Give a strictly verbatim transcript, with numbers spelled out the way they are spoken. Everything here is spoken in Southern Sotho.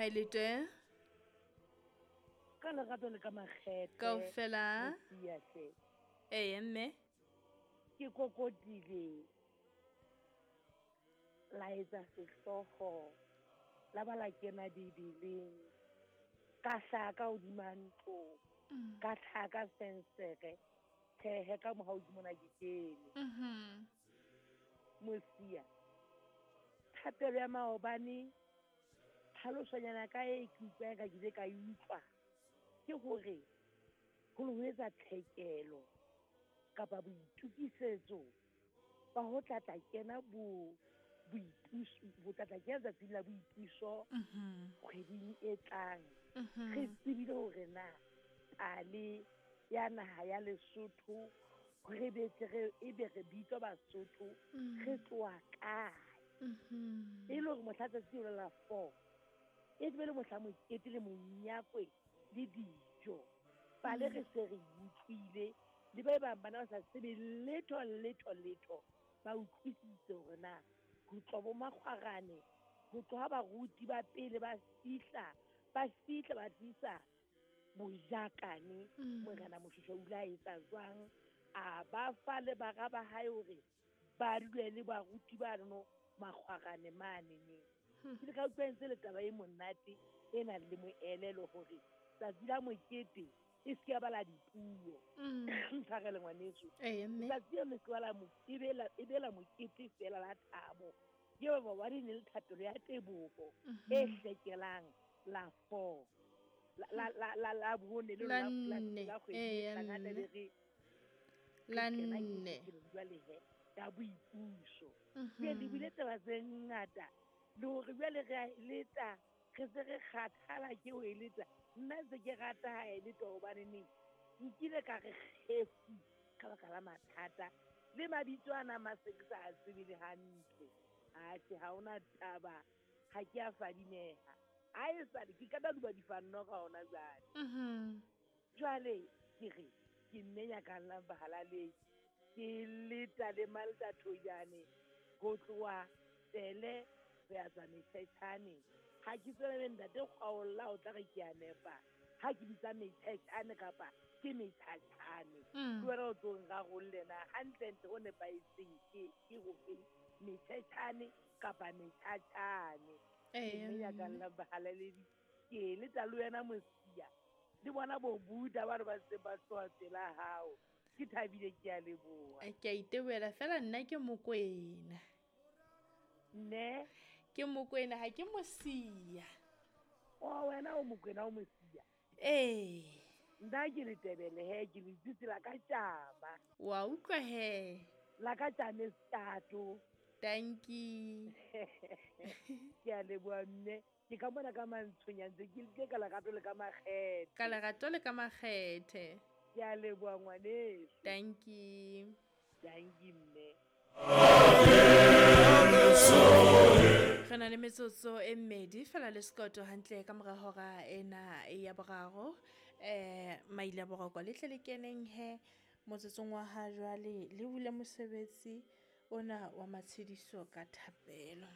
Haeletwe. Ka lerato le ka makgethe. Kaofela. Mosia hle. Ee mme. Ke kokotile. La etsa sehlooho. La ba la kena Bibeleng. Ka hlaha ka hodima ntlo. Mm. Ka hlaha ka fenstere. Tjhehe ka mohau ke mona ke kene. Mhm. Mosia. Thapelo ya maobane, tlhalosonyana ka e ke utlwang ka ke ile ka e utlwa, ke hore ho ne ho etsa tlhekelo kapa boitukisetso ba ho tla tla kena bo boipuso, ho tla tla kena tsatsing la boipuso Mhm. kgweding e tlang. Mhm. Re tsebile hore na pale ya naha ya Lesotho, re be tle re, ebe re bitswa Basotho, Mm. re tloha kae? Mhm. E le hore mohla tsatsi leo la four, e be le mohla mokete le monyakwe le dijo. Pale Mm. re se re utlwile, le ba bang bana ba sa tsebe letho, letho, letho, ba utlwisitse hore na ho tloha bo makgwarane, ho tloha baruti ba pele ba fihla, ba fihla ba tlisa bojakane, Mm. Morena Moshoeshoe o ile a etsa jwang, a ba fa le bara ba hae hore ba dule le baruti bano makgwarane mane neng. Hmm. Ke ile ka utlwa e ntse le taba e monate e nang le moelelo hore tsatsi la mokete e se ke ya ba la dipuo. Mm. Ntshwarele ngwaneso. Ee, mme. Tsatsi leo le se ke ba la mo-, e be la, e be la mokete feela la thabo. Ke ba ba ne le thapelo ya teboho Mhm. e hlekelang la four. La, la, la, la, la bone le La la, la, nne. la kgwedi Ee, e ya tlang, ha nne. tlabe re, re La kena nne. ke jwale he, ya boipuso. Mhm. Jwale le buile taba tse ngata, le hore jwale re a e leta, re se re kgathala ke ho e leta. Nna ntse ke rata ha e leta hobane neng, nkile ka re kgefu ka baka la mathata. Le mabitso ana a mase ke sa a tsebe le hantle. Atjhe, ha hona taba, ha ke a fadimeha. Ha e sale, ke ka duba difanno ka hona jwale. Mhm. Jwale ke re, ke mme nyakallang bahalaledi. Ke leta le Malta Thojane ho tloha Tsele ho ya tswa Metjhetjhane. Ha ke tsebe le ntate Kgwaolla o tla re ke a nepa. Ha ke bitsa Metjhetjhane kapa ke Metjhatjhane. Mm. Ke wena o tlo nrarolle na hantlentle ho nepahetseng ke, ke hofeng, Metjhetjhane kapa Metjhatjhane. Ke Ee, mme mme. nyakallang bahalaledi. Ke leta le wena Mosia. Le bona bo Buddha ba re ba ntse ba tloha pela hao. Ke thabile, ke a leboha. Ke a itebohela fela nna ke Mokwena. Ne? Ke Mokwena, ha ke Mosia. O, wena o Mokwena, o Mosia. Ee. Nna ke Letebele he, ke le tsitsi la ka tjama. Wa utlwa he. La ka tjame setato. Dankie. Ke a leboha mme. Ke ka mona ka mantshonya ntse ke le ka lerato le ka makgethe. Ka lerato le ka makgethe. Ke a leboha ngwaneso. Dankie. Dankie mme. Re na le metsotso e mmedi fela le sekoto hantle ka mora hora ena ya boraro. Eh, maile a boroko le tle le keneng he motsotsong wa ha jwale le bule mosebetsi ona wa matshediso ka thapelo.